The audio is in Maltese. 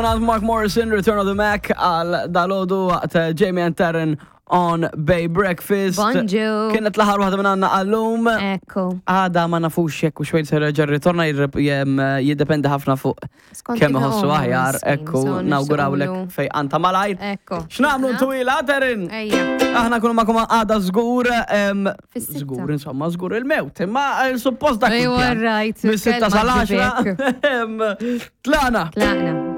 Għand Mark Morrison, Return of the Mac, għal dalodu waqt eh, Jamie and Taryn on Bay Breakfast. Bonġu. Kienet l-aħħar waħda minn għandna għallum. Ekku. Għada ma nafux jekk u xwejn se reġa' ritorna jiddependi ħafna fuq Skont kemm kif iħossu iħossu aħjar, miskin, ekku so nawgurawlek nixtiequlu. fej anta malajr. Ekku. X'nagħmlu twila, Taryn? Ejja. Aħna kunu magħkom għada żgur, em, Fis-sitta. żgur insomma, żgur il-mewt, imma eh, suppost dak Ejwa, il-pjan. right, Mis-sitta kelma sal-10. ġibek. em, Tlaqna. Tlaqna.